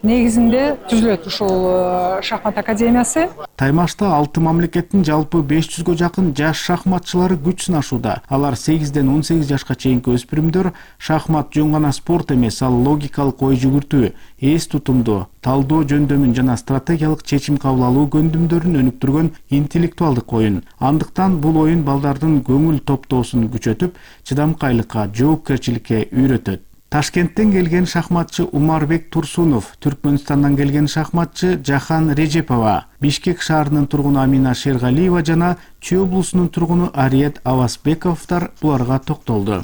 негизинде түзүлөт ушул шахмат академиясы. Таймашта 6 мамлекеттин жалпы 500гө жакын жаш шахматчылары күч сынашууда. Алар 8ден 18 жашка чейинки өспүрүмдөр. Шахмат жөн гана спорт эмес, ал логикалык ой жүгүртүү, эс тутумду, талдоо жөндөмүн жана стратегиялык чечим кабыл алуу көндүмдөрүн өнүктүргөн интеллектуалдык оюн. Андыктан бул оюн балдардын көңүл топтоосун күчөтүп, чыдамкайлыкка, жоопкерчиликке үйрөтөт. Ташкенттен келген шахматчы Умарбек Турсунов, Түркмөнстандан келген шахматчы Жахан Режепова, Бишкек шаарынын тургуну Амина Шергалиева жана Чүй облусунун тургуну Ариет Авасбековдор буларга токтолду.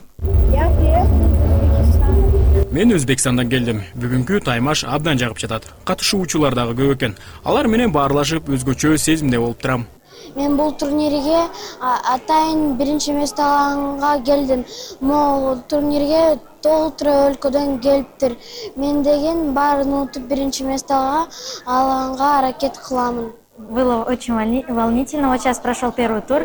Мен Өзбекстандан келдим. Бүгүнкү таймаш абдан жагып жатат. Катышуучулар дагы көп экен. Алар менен баарлашып өзгөчө сезимде болуп турам. Мен бул турнирге атайын биринчи место алганга келдим. Могул турнирге толтура өлкөдөн келиптир. Мен деген баарын утуп биринчи место алганга аракет кыламын. Было очень волнительно. Вот сейчас прошел первый тур.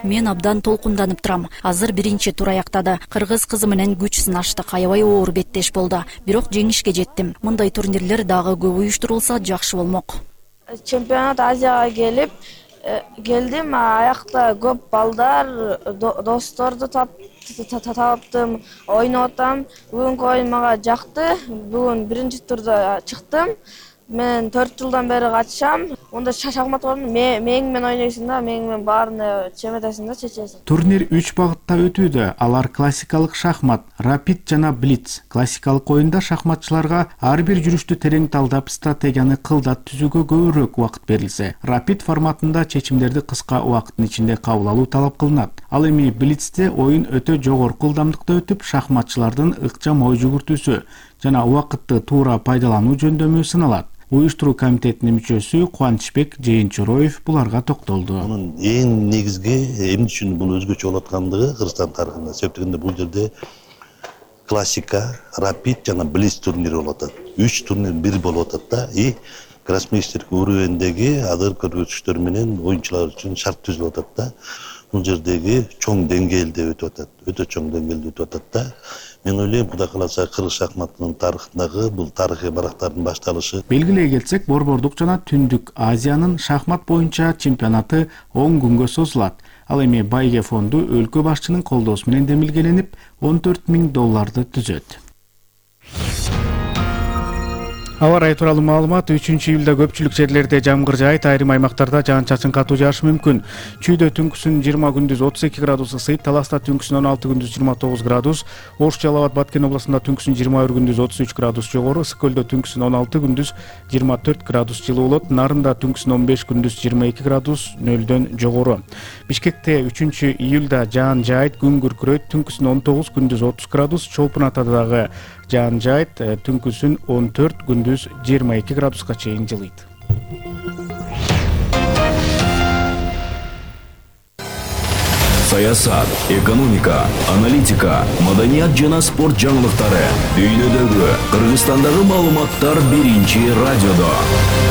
Мен абдан толкунданып турам. Азыр биринчи тур аяктады. Кыргыз кызы менен күч сынаштык. Аябай оор беттеш болду. Бирок жеңишке жеттим. Мындай турнирлер дагы көп уюштурулса жакшы болмок. Чемпионат Азияга келдим, аякта көп балдар, досторду таптым, ойноп атам. Бүгүнкү оюн мага жакты. Бүгүн биринчи турда чыктым. Мен 4 жылдан бери катышам. Онда шахмат ойнойм. Меңмен ойнойсуң да, меңмен баарына чеметесиң да, чечесиң. Турнир 3 багытта өтүүдө. Алар классикалык шахмат, рапид жана блиц. Классикалык оюнда шахматчыларга ар бир жүрүштү терең талдап, стратегияны кылдат түзүүгө көбүрөөк убакыт берилсе, рапид форматында чечимдерди кыска убакыттын ичинде кабыл алуу талап кылынат. Ал эми блицте оюн өтө жогорку ылдамдыкта өтүп, шахматчылардын ыкчам ой жүгүртүүсү жана убакытты туура пайдалануу жөндөмү сыналат. Уюштуруу комитетинин мүчөсү Кубанычбек Жээнчуроев буларга токтолду. Мунун эң негизги эмне үчүн бул өзгөчө болуп аткандыгы Кыргызстан тарыхында. Себеп дегенде бул жерде классика, рапид жана блиц турнири болуп атат. 3 турнир бир болуп атат да. И гроссмейстер уровендеги адыр көрсөтүштөр менен оюнчулар үчүн шарт түзүлүп атат да. Бул жердеги чоң деңгээлде өтүп атат. Өтө чоң деңгээлде өтүп атат да. Мен ойлойм, Кудай кааласа кыргыз шахматынын тарыхындагы бул тарыхый барактардын башталышы. Белгилей кетсек, Борбордук жана Түндүк Азиянын шахмат боюнча чемпионаты 10 күнгө созулат. Ал эми Байге фонду өлкө башчынын колдоосу менен демилгеленип, $14,000 түзөт. Аба ырайы тууралуу маалымат: 3-июлда көпчүлүк жерлерде жамгыр жаайт, айрым аймактарда жаан-чачын катуу жаашы мүмкүн. Чүйдө түнкүсүн 20 күндүз 32 градус ысыйт, Таласта түнкүсүн 16 күндүз 29 градус, Ош, Жалал Абад, Баткен областында түнкүсүн 21 күндүз 33 градус жогору, Ысык көлдө түнкүсүн 16 күндүз 24 градус жылуу болот, Нарында түнкүсүн 15 күндүз 22 градус нөлдөн жогору. Бишкекте 3-июлда жаан жаайт, күн күркүрөйт, түнкүсүн 19 күндүз 30 градус, Чолпун Атада дагы жаан жаайт, түнкүсүн 14 күндүз 22 градуска чейин жылыйт. Саясат, экономика, аналитика, маданият жана спорт жаңылыктары, дүйнөдөгү, Кыргызстандагы маалыматтар биринчи радиодо.